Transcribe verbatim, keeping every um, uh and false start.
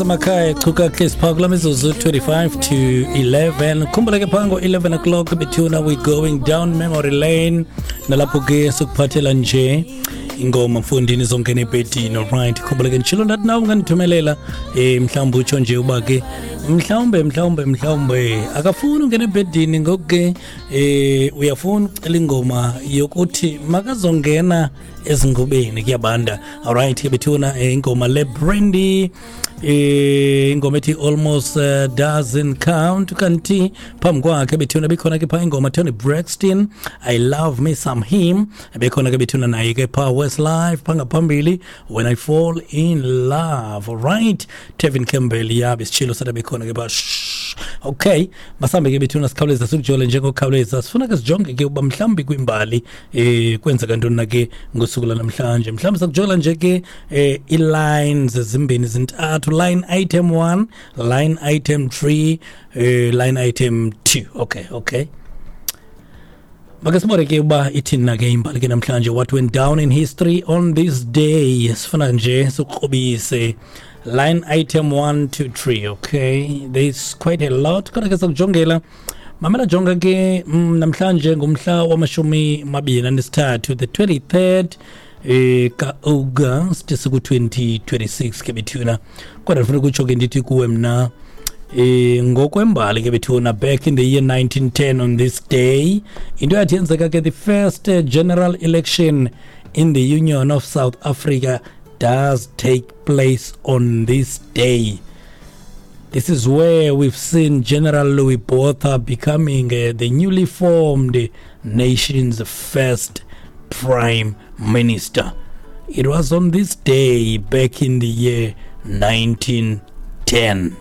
Emakhaya chuka hlezi phaa kula mizuzu twenty-five to eleven. Khumbula ke phaa ngo-eleven o'clock bethuna, we going down memory lane, nalapho ke sikuphathela nje ingoma mfundini zongena ebhedini. Alright, khumbula ke nditshilo ndathi nawe ungandithumelela um mhlawumbi utsho nje uba ke mhlawumbe mhlawumbe mhlawumbe akafuni ungena ebhedini, ngoku ke um uyafuna ucela ingoma yokuthi makazongena ezingubeni, kuyabanda. Alright ke bethuna, eh, ingoma le Brandy, eh ingoma ethi "Almost uh, Doesn't Count". Kanti phambi kwakhe bethuna bekhona ke phaa ingoma Toni Braxton, "I Love Me Some Him". Bekhona ke bethuna naye ke phaa Westlife phaa ngaphambili, "When I Fall in Love". Alright, Tevin Campbell yabe sitshilo sathi bekhona ke phaa. Shh. Okay, masambe ke bethuna, sikhawuleza sikujole njengokhawuleza. Sifuna ke sijonge ke uba mhlawumbi kwimbali eh kwenzeka ntoni na ke ngosuku lanamhlanje. Mhlawumbi sakujola nje ke eh ii-lines zimbini zintathu: line item one, line item three, eh line item two. okay okay make sibone ke uba ithini na ke imbali ke namhlanje. What went down in history on this day? Sifuna nje sikrobise line item one to three. Okay, there's quite a lot, kodwa ke sakujongela. Mamela, jonga ke, mm, namhlanje ngumhla wamashumi mabini anesithathu, the twenty-third eh ka-August, siku-twenty twenty-six ke bethuna. Kodwa ndifuna ukutsho ke ndithi kuwe mna eh ngokwembali ke bethuna, back in the year nineteen ten on this day, into yathi yenzeka ke, the first uh, general election in the Union of South Africa does take place on this day. This is where we've seen General Louis Botha becoming uh, the newly formed nation's first prime minister. It was on this day back in the year nineteen ten.